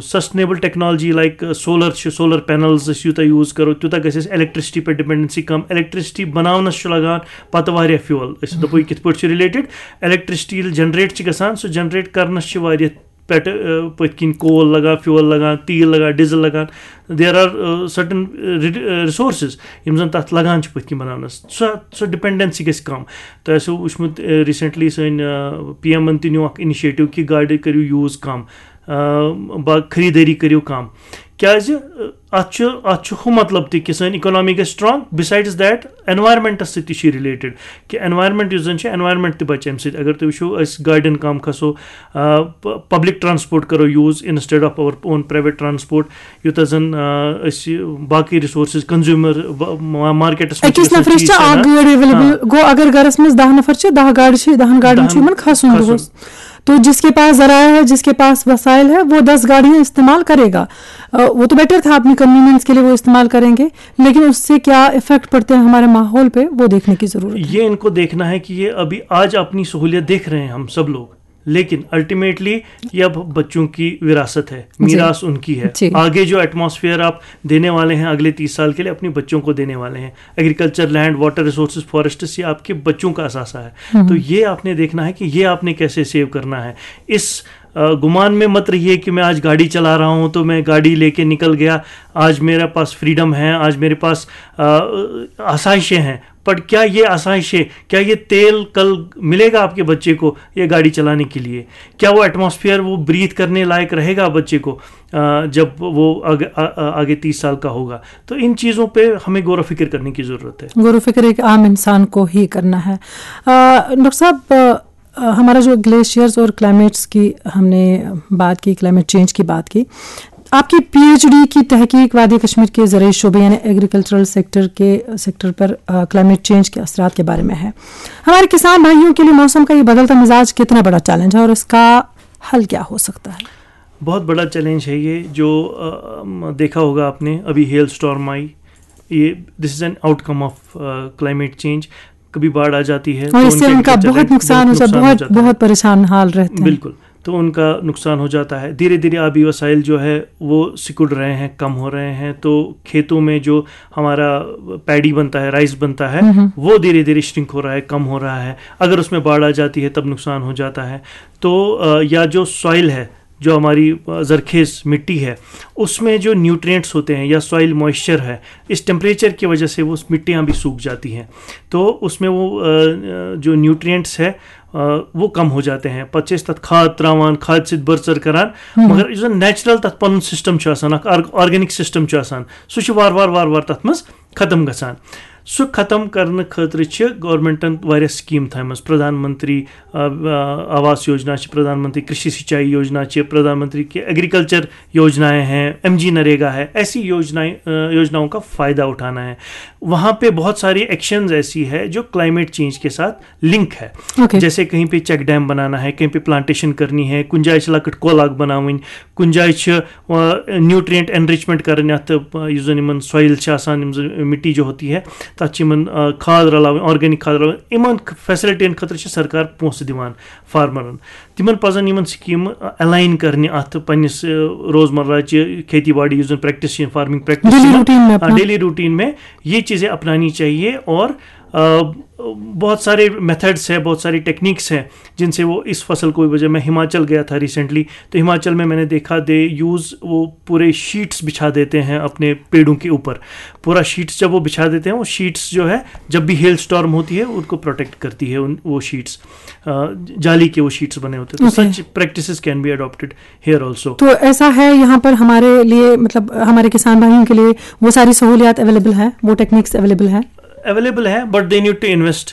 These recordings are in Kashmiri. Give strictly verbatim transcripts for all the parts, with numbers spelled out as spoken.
سسٹینیبل ٹیکنالوجی لائک سولر چھِ، سولر پینلز أسۍ یوٗتاہ یوٗز کَرو، تیوٗتاہ گژھِ اَسہِ الیکٹرسٹی پٮ۪ٹھ ڈِپینڈنسی کَم۔ الیکٹرسٹی بَناونَس چھُ لَگان پَتہٕ واریاہ فیول۔ أسۍ دَپو یہِ کِتھ پٲٹھۍ چھُ رِلیٹِڈ؟ الیکٹرسٹی ییٚلہِ جنریٹ چھِ گژھان، سُہ جنریٹ کَرنَس چھِ واریاہ پٮ۪ٹھٕ، آ، پٔتھۍ کِنۍ کول لَگان، فیول لَگان، تیٖل لَگان، ڈیٖزل لَگان۔ There are certain resources یِم زَن تَتھ لَگان چھِ پٔتھۍ کِنۍ بَناونَس۔ سۄ سۄ ڈِپینڈنسی گژھِ کَم۔ تۄہہِ آسیو وٕچھمُت، آ، ریسنٹلی سٲنۍ، آ، پی ایمَن تہِ نیوٗ اَکھ اِنِشیٹِو کہِ گاڑِ کٔرِو یوٗز کَم، آ، با-، خریٖدٲری کٔرِو کَم۔ کیٛازِ، آ، اَتھ چھُ، اَتھ چھُ ہُہ مطلب تہِ کہِ سٲنۍ اِکانامی گژھِ سٹرانگ۔ Besides that، انوائرمنٹس سۭتۍ تہِ چھُ یہِ رِلیٹِڈ کہِ انوائرمنٹ یُس زَن چھُ، انوائرمنٹ تہِ بَچہِ اَمہِ سۭتۍ۔ اگر تُہۍ وٕچھِو، أسۍ گاڑٮ۪ن کَم کھسو، آ، پ-، پبلک ٹرانسپورٹ کَرو use instead of our own private transport، یوٗتاہ زَن، آ، أسۍ باقٕے ریسورسز، کنزیوٗمر مارکیٹس منٛز أکِس نفرس چھِ اکھ گٲڑۍ ایویلیبل۔ گوٚو اگر گرس منٛز دَہ نفر چھِ، دَہ گاڑِ چھِ، دَہن گاڑٮ۪ن چھُ یِمن کھسُن دۄہس۔ تو جس کے پاس ذرائع ہے، جس کے پاس وسائل ہے، وہ دس گاڑیاں استعمال کرے گا۔ آ، وہ تو بیٹر تھا، اپنی کنوینئنس کے لیے وہ استعمال کریں گے، لیکن اس سے کیا افیکٹ پڑتے ہیں ہمارے ماحول پہ، وہ دیکھنے کی ضرورت ہے۔ یہ ان کو دیکھنا ہے کہ یہ ابھی آج اپنی سہولیت دیکھ رہے ہیں ہم سب لوگ، لیکن الٹیمیٹلی یہ اب بچوں کی وراثت ہے، جی۔ میراث ان کی ہے۔ جی۔ آگے جو ایٹماسفیئر آپ دینے والے ہیں اگلے تیس سال کے لیے، اپنے بچوں کو دینے والے ہیں۔ Agriculture, land, water resources, forests, یہ آپ کے بچوں کا اثاثہ ہے۔ تو یہ آپ نے دیکھنا ہے کہ یہ آپ نے کیسے سیو کرنا ہے۔ اس، آ، گمان میں مت رہیے کہ میں آج گاڑی چلا رہا ہوں تو میں گاڑی لے کے نکل گیا، آج میرے پاس فریڈم ہے، آج میرے پاس، آ، آسائشیں ہیں۔ پر کیا یہ آسائشیں، کیا یہ تیل کل ملے گا آپ کے بچے کو یہ گاڑی چلانے کے لیے؟ کیا وہ ایٹماسفیئر وہ بریتھ کرنے لائق رہے گا بچے کو، آ، جب وہ آگے، آ، آ، آگے تیس سال کا ہوگا؟ تو ان چیزوں پہ ہمیں غور و فکر کرنے کی ضرورت ہے۔ غور و فکر ایک عام انسان کو ہی کرنا ہے۔ آ، ڈاکٹر صاحب، آ، ہمارا جو گلیشیئرز اور کلائمیٹس کی ہم نے بات کی، کلائمیٹ چینج کی بات کی، آپ کی پی ایچ ڈی کی تحقیق وادی کشمیر کے زرعی شعبے یعنی ایگریکلچرل سیکٹر کے، سیکٹر پر، آ، کلائمیٹ چینج کے اثرات کے بارے میں ہے۔ ہمارے کسان بھائیوں کے لیے موسم کا یہ بدلتا مزاج کتنا بڑا چیلنج ہے اور اس کا حل کیا ہو سکتا ہے؟ بہت بڑا چیلنج ہے یہ، جو، آ، م، دیکھا ہوگا آپ نے، ابھی ہیل اسٹارم آئی، یہ، this is an outcome of climate change۔ کبھی باڑھ آ جاتی ہے اور تو اس سے ان کا بہت نقصان ہو جاتا ہے، بہت، بہت پریشان حال رہتے ہیں۔ بالکل، تو ان کا نقصان ہو جاتا ہے۔ دھیرے دھیرے آبی وسائل جو ہے وہ سکڑ رہے ہیں، کم ہو رہے ہیں، تو کھیتوں میں جو ہمارا پیڈی بنتا ہے، رائس بنتا ہے، وہ دھیرے دھیرے شرنک ہو رہا ہے، کم ہو رہا ہے۔ اگر اس میں باڑھ آ جاتی ہے تب نقصان ہو جاتا ہے۔ تو، آ، یا جو سوائل ہے، جو ہماری، آ، زرخیز مٹی ہے، اس میں جو نیوٹرینٹس ہوتے ہیں یا سوائل موئسچر ہے، اس ٹیمپریچر کی وجہ سے وہ مٹیاں بھی سوکھ جاتی ہیں۔ تو اس میں وہ، آ، جو نیوٹرینٹس ہے، آ، وہ کم ہو جاتے ہیں۔ پتہٕ چھِ أسۍ تَتھ کھاد ترٛاوان، کھادِ سۭتۍ بٔرژر کران، مگر یُس زَن نیچرل تَتھ پَنُن سسٹم چھُ آسان، اکھ آرگ-، آرگینک سسٹم چھُ آسان، سُہ چھُ وارٕ وارٕ وارٕ وارٕ تَتھ منٛز ختم گژھان۔ سُہ ختم کرنہٕ خٲطرٕ چھِ گورنمنٹن واریاہ سکیٖم تھایمژٕ، پردھان منتری، آ، آ، آواس یوجنا چھِ، پردھان منتری کرشی سینچائی یوجنا چھِ، پردھان منتری کے ایگریکلچر یوجنائیں ہیں، ایم جی نریگا ہے، ایسی یوجنائیں، آ، یوجناؤں کا فائدہ اٹھانا ہے۔ وہاں پہ بہت ساری ایکشنز ایسی ہے جو کلائمیٹ چینج کے ساتھ لنک ہے۔ اوکے۔ جیسے کہیں پہ چیک ڈیم بنانا ہے، کہیں پہ پلانٹیشن کرنی ہے، کُنہِ جایہِ چھِ لۄکٕٹ کۄل اکھ بناوٕنۍ، کُنہِ جایہِ چھِ، آ، نیوٹرینٹ انرچمنٹ کرٕنۍ، اتھ، آ، یُس زن یِمن سویل چھِ آسان، یِم زن مٹی جو ہوتی ہے، تتھ چھِ یِمن، آ، کھاد رلاوٕنۍ، آرگینک کھاد رلاوٕنۍ۔ یِمن فیسلٹین خٲطرٕ چھِ سرکار پونٛسہٕ دِوان فارمرن۔ تِمن پزن یِمن سکیٖمہٕ، آ، الاین کرنہِ اتھ پننِس، آ، روزمرہ چہِ کھیتی باڑی، یُس زن پریکٹس چھِ، فارمنگ پریکٹس ڈیلی چھِ یِمن، روٹین میں آ، اپنا۔ ڈیلی روٹین میں یہ چیزیں اپنانی چاہیے اور، آ، بہت سارے میتھڈس ہیں، بہت ساری ٹیکنیکس ہیں، جن سے وہ اس فصل کو بھی بچا۔ میں ہماچل گیا تھا ریسنٹلی، تو ہماچل میں میں نے دیکھا، دے یوز، وہ پورے شیٹس بچھا دیتے ہیں اپنے پیڑوں کے اوپر۔ پورا شیٹس جب وہ بچھا دیتے ہیں، وہ شیٹس جو ہے، جب بھی ہیل اسٹارم ہوتی ہے، ان کو پروٹیکٹ کرتی ہے، ان، وہ شیٹس، آ، جالی کے وہ شیٹس بنے ہوتے ہیں۔ تو okay. Such practices can be adopted here also۔ تو ایسا ہے، یہاں پر ہمارے لیے، مطلب، ہمارے کسان بھائیوں کے لیے وہ ساری سہولیات اویلیبل ہیں، وہ ٹیکنیکس اویلیبل ہیں؟ اویلیبل ہے، but they need to invest,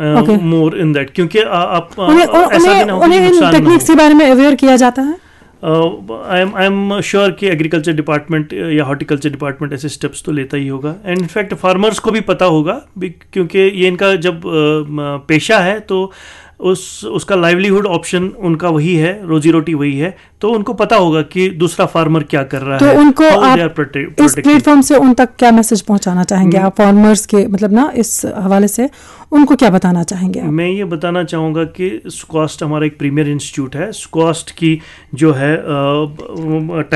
uh, okay. More in that، کیونکہ آ-، آپ، آ، انہیں، ایسا بھی انہیں، نہ ہو کہ انہیں ان نقصان نہ ہو۔ ٹیکنیکس کے بارے میں اویئر کیا جاتا ہے؟ آ، I am, I am sure کہ ایگریکلچر ڈپارٹمنٹ یا ہارٹیکلچر ڈپارٹمنٹ ایسے اسٹیپس تو لیتا ہی ہوگا، اینڈ انفیکٹ فارمرس کو بھی پتا ہوگا، بی-، کیونکہ یہ ان کا جب، آ، م-، پیشہ ہے، تو उस उसका लाइवलीहुड ऑप्शन उनका वही है, रोजी रोटी वही है, तो उनको पता होगा कि दूसरा फार्मर क्या कर रहा तो है, उनको how आप they are protect- इस protecting. प्लेटफॉर्म से उन तक क्या मैसेज पहुंचाना चाहेंगे आप फार्मर्स के, मतलब ना, इस हवाले से उनको क्या बताना चाहेंगे आप? मैं ये बताना चाहूँगा कि स्क्वास्ट हमारा एक प्रीमियर इंस्टीट्यूट है। स्क्वास्ट की जो है